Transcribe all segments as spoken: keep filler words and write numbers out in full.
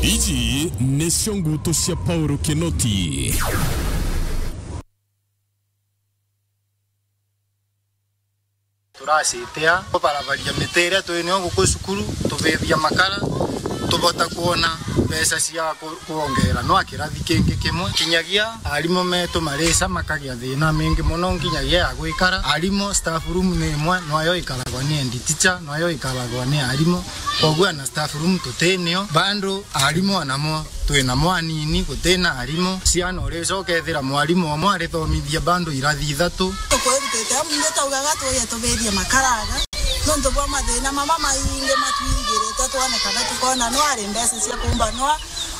Iji nicio ngutu cia Paulo Kinoti. Turacitia kubarabaria miti iria twi nio guku cukuru, tubithia makara, tubota kwona mbeca cia ku-, kwongera no kirathi kingi kimwe. Kinyagia arimu metu marica makagia thina mingi muno, nginyagia ya gwikara. Arimu staff room ni imwe, nwayo ikaragwa ni head teacher, nwayo ikaragwa ni arimu. Koguo na staff room tutinio, bado arimu anamo twina mwanini, gutina arimu. Ciana uricoka ethira mwarimu omwe arithomithia bado irathi ithatu. Tukwirutite amu ndio taugaga tuye tubithie makaraga. Nontu bwa mathina mama maingi matwirigirite, twone kana tukona no ari mbeca cia kumba no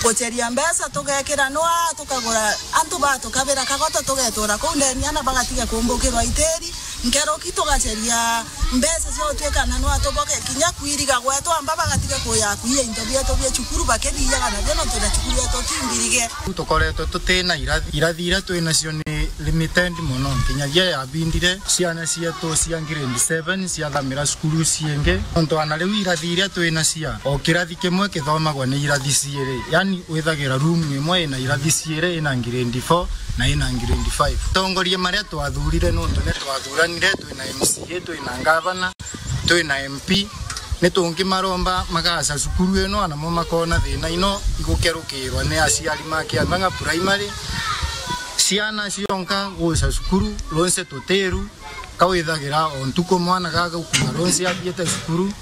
guceria mbeca tugekira no tukagura antu batukabira kagoto tugetura kuu ndeni ana bagatiga kumbukirwa itiri. Nkeroki tugaceria mbeca cia gutuika na no atuboke kinya kwiriga gwetu amba bagatiga kuya kuia into bietu bia cukuru bakithiaga nabio no twina cukuru yetu timbirige. Tukoretwe tutina irathi, irathi iria twinacio ni limited mono, nkinyagia yabindire ciana cietu cia grade seven ciathamira cukuru ciingi. Nontu ana riu irathi iria twinacia, o kirathi kimwe kithomagwa ni irathi ciiri, yani withagira room imwe ina irathi ciiri, ina grade four na ina grade five. Atongoria maria twathurire, nontu ni twathuranire, twina M C A, twina ngavana, twina M P, ni tungimaromba magaca cukuru ino, anamo makona thina ino igukerukirwa ni aciari ma Kiang'ang'a Primary. Ciana cionka guca cukuru, ronse tutiru, kawithagira o ntuku mwana gagukuma ronse athiete cukuru.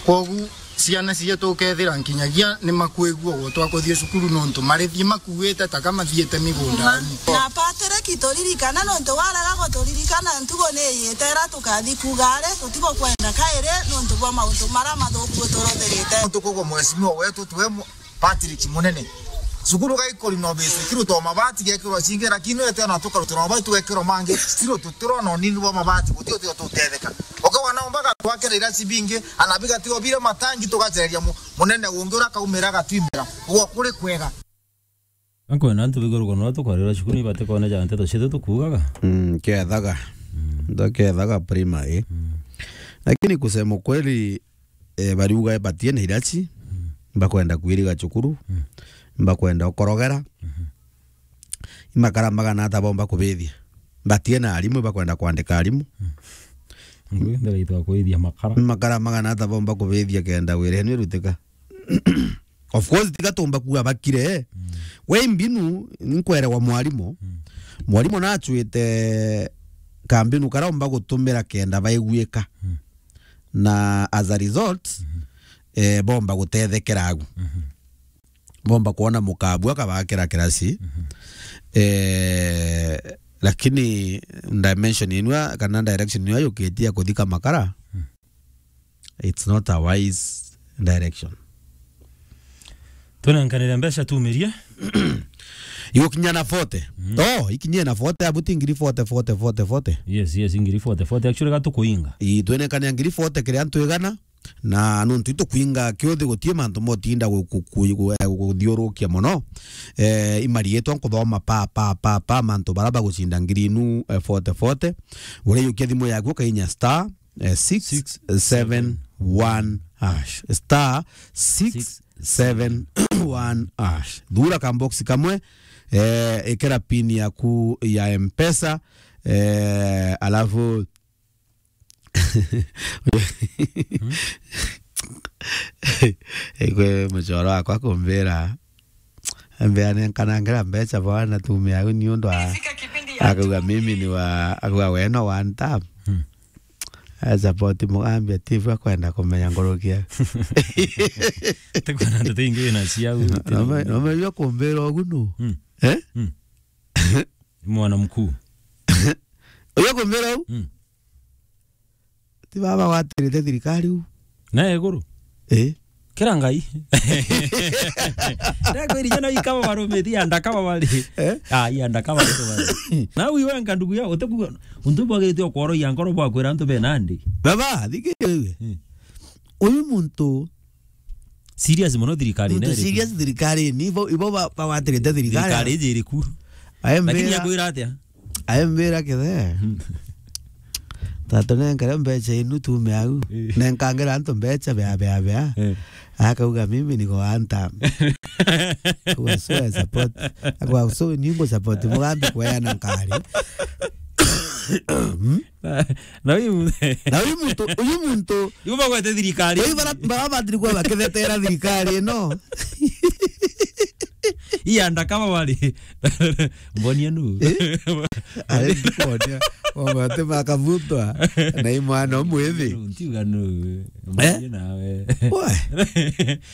Kwogu ciana cietu ukethira nkinyagia ni makwigua gutwa kuthii cukuru nontu marithii makuite ta ka mathiite migundani. Na Patrick, turirikana nontu waraga guturirikana ntugo ni iyite ira tukathi kuuga ari tutigo kwenda kairi nontu bwa mauntu mara mathuku uturothirite. Tukugwa mheshimiwa wetu tuwe mu-, Patrick Munene. Cukuru gaikori no bisi, kirutwa mabati gekirwa cingi, lakini wete ona tukarutwa mabati tugekirwa mangi, still tutirona unini bwa mabati, guti utio tutetheka. Ukawa nao mpaka twakira irasi bingi, ana bigatigo bire matangi tugacereria mu-, munene ungi ura kaumira gatwimira. Ugo kuri kwega. Ankwenda antu biguru kono tukwarira cukuru ni batikone ja nteto cietu tukuugaga. Mm, kethaga. Mm. Ndo kethaga primary. Mm. Lakini kusema kweli, eh, bariuga batie na iraci, mm, bakwenda kwiriga cukuru, mm, bakwenda ukorogera. Mhm. Imakara magana ata bomba kubithia. Batie na arimu, bakwenda kwandika arimu. Mm. Ngwendera itwa kuithia makara. Imakara magana ata bomba kubithia kenda wira ino irutika. Of course, tiga tumba kuuga bakire. Mm. We mbinu, nkwerewa mwarimu. Mm. Mwarimu nachwite kambinu kara omba gutumira kenda baiguika. Mm. Na as a result, mhm, eh, bomba gutethekera agu. Mhm. Bomba kwona mukabua kabakira kirasi. Mhm. Eh, lakini dimension inwa kana direction inwa yukitie ya kuthika makara. Mm. It's not a wise direction. Tunenkanire mbeca tumirie. Igukinya na forty. Mm. Oh, ikinyie na forty, abu ti ngiri forty, forty, forty, forty. Yes, yes, ngiri forty, forty. Actually, gatukuinga. Ii, twenekania ngiri forty kiri antu igana, na nontu itukuinga kiuthi gutie mantu motinda gu-, gu-, gu-, gu-, eh, guthiurukia mono. Eh, imarietwa nkuthoma pa, pa, pa, pa, mantu bara bagucinda ngiri inu, eh, forty, forty. Uria yukia thimu yaku ukainya star, eh, six seven one hash. Star six seven one hash. Thura ka box kamwe, eh, ikira pin yaku ya M-Pesa, eh, alafu, hmm? Ikwe muchoro wakwa kumbira, mbeane nkanangera mbeca bwana tumia au ni undu wa, akauga mimi ni wa, akauga we no one time. Hmm. Aya support Mugambi ati bwa kwenda kumenya nguruki. Tikwona ndeto ingi wina ciau. Nome, nome yo kumbira ugu nu. Hmm. Eh? Hmm. Mwana mkuu. Uyo kumbira u? Hmm. Ti baba watirite thirikari u. Na iguru? Eh. Kira Ngai. Ndakwirija no ikaba barumithia andakaba bari. Eh? Ah, iya andakaba bari. Na uyu wenka ndugu ya utekuga untu bwagirite okworoia nkoro bwakwira antu bena ndi. Baba, thikiriria. Hmm. Uyu muntu serious mono thirikari muntu serious thirikari ni ibo, ibo ba, bawatirite thirikari. Thirikari iji iriku. Lakini akwira atia? Aembira kithe. Hmm. Tatu nenkere mbeca inu tume au. Eh. Nenkangera antu mbeca bea, bea, bea. Eh. Akauga, "Mimi niko one term." Kwa so I support. Kwa so ningo support. Mugambi kweana nkari. Na, na uyu mu- Na uyu muntu, uyu muntu, Ibo bagwete thirikari. Uyu bara, bara batiri kwa bakithetera thirikari ino. Ii andakama bari. Mbonia nu. Eh? Ari ndikonia. Wamate makabutwa. Na imwana omwithi. Nu, ntiuga nu. Eh? Mbonia nawe. Wa.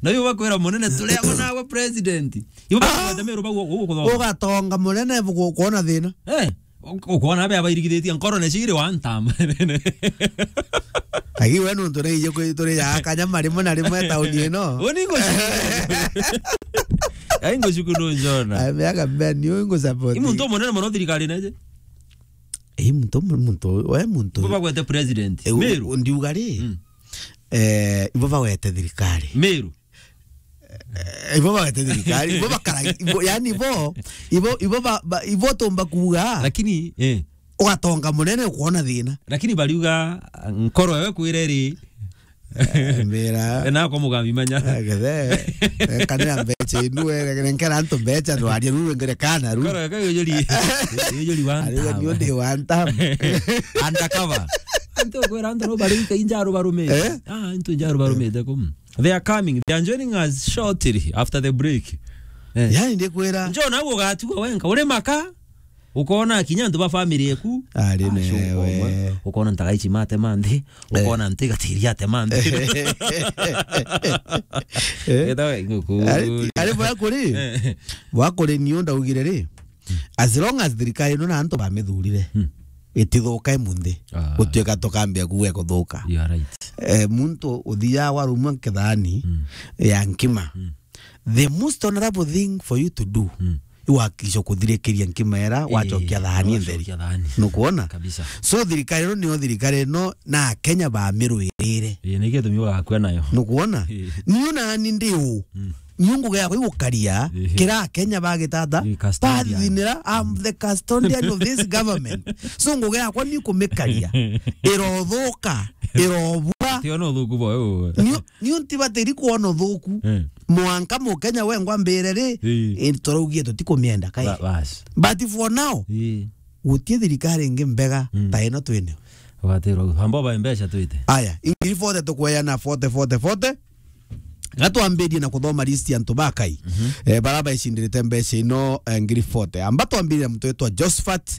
Na uyu bakwira munene, "Turi amwe nawe president." Ibo Ah! bakwenda Meru bau gu-, gu-, guthoka. Ugatonga munene bu-, kuona thina. Eh? Uk-, ukona abe abairigithitie nkoro na ciri one term. Agi we nuntu ni ije kwi turi ya kanyama rimwe na rimwe tauni ino. Uni ngo shuku. Ai ngo shuku no njona. Ai miaka mbeni, ui ngo support. I muntu munene muno thirikari neje. I muntu, muntu, we muntu. Ibo bagwete president. Eh, u-, Meru. Ndiuga ri. Mm. Eh, ibo bagwete thirikari. Meru. Eh, ibo bagwete thirikari, ibo bakara, ibo, yani ibo, ibo, ibo ba, ba, ibo tumba kuuga. Lakini, eh. Ugatonga munene ukuona thina. Lakini bariuga, nkoro ewe kwira iri. Eh, mbira. Na kwa mugambi manya. Eh, gethe. Eh, kanira mbeca inu, eh, nkera antu mbeca, ndwaria ru, ngere kana ru. Nkoro ewe yujuri, yujuri one term. Ariuga ni undi one term. Undercover. Antu kwira antu no bari injaru barume. Eh? Ah, antu injaru barume te kum. They are coming. They are joining us shortly after the break. Eh. Yani, ndikwira. Njoo nawe ugatigwa wenka. Uri maka, ukona kinya antu ba family eku. Ari Ah, sure, newe. Ukona, ukona ntagaichi mate manthi. Eh. Ukona nti gatiri ate manthi. Eh. Eta we nguku. Ari, ari bwa kuri? Eh. Bwa kuri ni unda ugire ri? As long as thirikari ino na antu bamithurire, Hmm. itithuka imunthi. Ah. Gutuika tukambia kuuga ikuthuka. You are right. Eh, muntu uthiaga warumwa nkithani Hmm. ya nkima. Hmm. The most honorable thing for you to do, Hmm. iwakikisha kuthirikiria nkima era, Eh, wachokia thani ntheri. Wachokia thani. Nukuona? Kabisa. So thirikari ino nio thirikari ino na Kenya bamirwirire. Eh, ni gitumi ugakua nayo. Nukuona? Eh. Niu nani ndi u? Hmm. Niu ngugi yakwa igukaria, Ehe. Kira Kenya bagitata, Ii, custodian. Bathinira, I'm the custodian of this government. So ngugi yakwa ni kumikaria, irothuka, irobura. Tiona uthuku bwayo. Niu, niu ntibatiri kwona uthuku. Eh. Mwanka Mukenya wengwa mbire ri, Ii. Ii, turaugie tutikumienda kai. Ba-, bas. But for now, Ii. Gutie thirikari ingi mbega Mm. ta ino twinio. Ugatirwa, amba ba mbeca twite. Aya, ingiri forty tukweana forty, forty, forty. Gatwambirie na kuthoma list ya antu ba Kai. Mhm. Eh, bara baicindiritie mbeca ino, eh, ngiri forty. Amba twambirie na muntu witwa Josephat,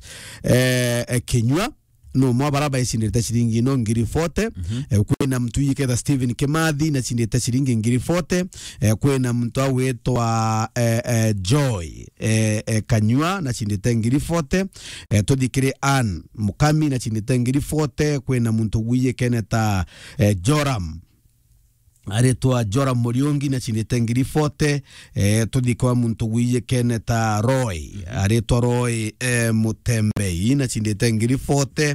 eh, eh, Kinyua. No mwa bara baicindiritie ciringi ino ngiri forty. Mhm. Eh, kwina muntu wijiketa Stephen Kimathi na cindiritie ciringi ngiri forty. Eh, kwina muntu awitwa, eh, eh, Joy, eh, eh, Kanyua na cindiritie ngiri forty. Eh, tuthi kiri Ann Mukami na cindiritie ngiri forty. Kwina muntu wijikene ta, eh, Joram. Aritwa Joram Muriungi na cindiritie ngiri forty. Eh, tuthi kwa muntu wijikene ta Roy. Aritwa Roy, eh, Mutembei na cindiritie ngiri forty.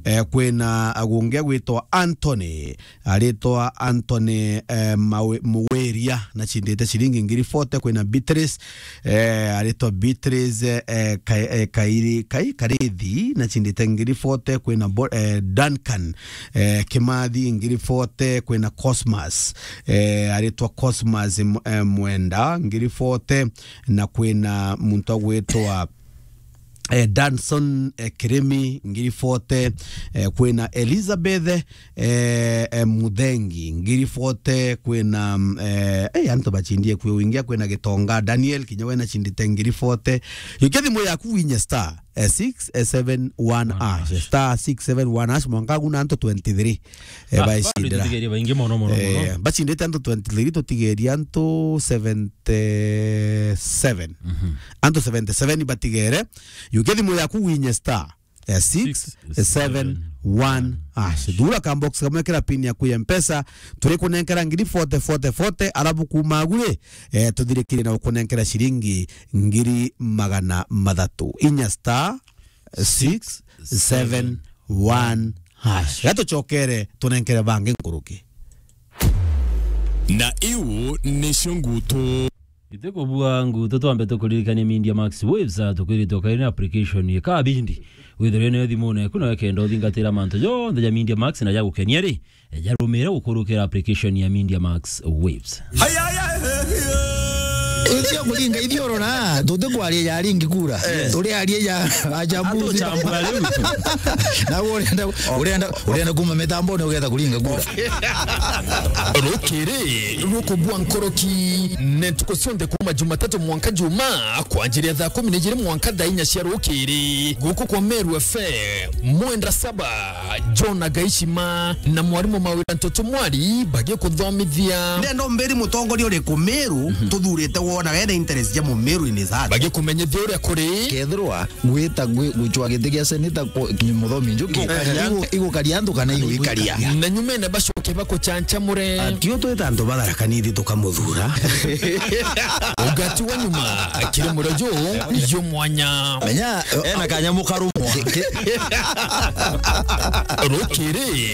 Eh, kwina agungi agwitwa Anthony. Aritwa Anthony, eh, Mawe-, Muweria na cindiritie ciringi ngiri forty. Kwina Beatrice, eh, aritwa Beatrice, eh, Ka-, eh, Kairi-, Kai-, Karithi na cindiritie ngiri forty. Kwina Bo-, eh, Duncan eh, Kimathi ngiri forty, kwina Cosmas, eh, aritwa Cosmas M-, eh, Mwenda ngiri forty, na kwina muntu agwitwa, eh, Danson, eh, Kirimi ngiri forty, eh, kwina Elizabeth, eh, eh, Muthengi ngiri forty, kwina, mm, eh, eh, antu bachindie kwi wingia, kwina Gitonga Daniel kinya wena chindite ngiri forty. Yukia thimu yaku winye star eh, six seven one hash. Star six seven one hash, mwanka agu na antu twenty-three, eh, ba-, baicindira. Tutigerie baingi mono, mono, mono. Eh, bacindite antu twenty-three, tutigerie antu seventy-seven. Mhm. Antu seventy-seven batigere. Yukia thimu yaku winye star, eh, six seven one hash. Thura ka box kamwe kira pin yaku ya Mpesa, turi kunenkera ngiri forty, forty, forty, alafu kuma agu ri, eh, tuthirikire na gukunenkera ciringi ngiri magana mathatu. Inya star six seven one hash. Gatucokere tunenkere bangi nkuruki. Na iu nicio ngutu. Itikubua ngutu, twambe tukuririkanie Media Max Waves, ah, tukwiritwe kairi na application ya Kabindi. Withirwe nayo thimune yaku, na wekenda uthingatira mantu jonthe ja Media Max na ja gukenia ri, jarumire gukurukira application ya Media Max Waves. Ucio kuringa ithioro na, tutikwaria ya ringi kura. Turiaria ya ajabu. Atuchambua riu. Na urenda, urenda, urenda kuma mitambone ugetha kuringa kura. Rukiri rukubua nkoroki, ne ntuku cionthe kuma Jumatatu mwanka Juma, kwanjiria thaa kumi na ijiri mwanka thaa inya cia rukiri. Guku kwa Meru F M, Mwenda Saba, John Agaishima na mwarimu Mawira Ntoto Mwari bagikuthomithia. Ndenda umbiri mutongoria uriku Meru tuthurite wona wena interest ja Mumeru in his heart. Bagikumenyithia uria kuri. Kethirwa gwita gwi-, gucwa giti gia seneta ku-, ki-, Muthomi Njuki, Ngukaria. Igu-, igukaria antu kana igwikaria? Na nyumene bacoke bakuchanchamure. Atio twita antu ba Tharaka Nithi tukamuthura. Ugati wa nyuma kiri murojo yo mwanya. Menya, ena kanyamu karumwa. Ki-, ki-, Rukiri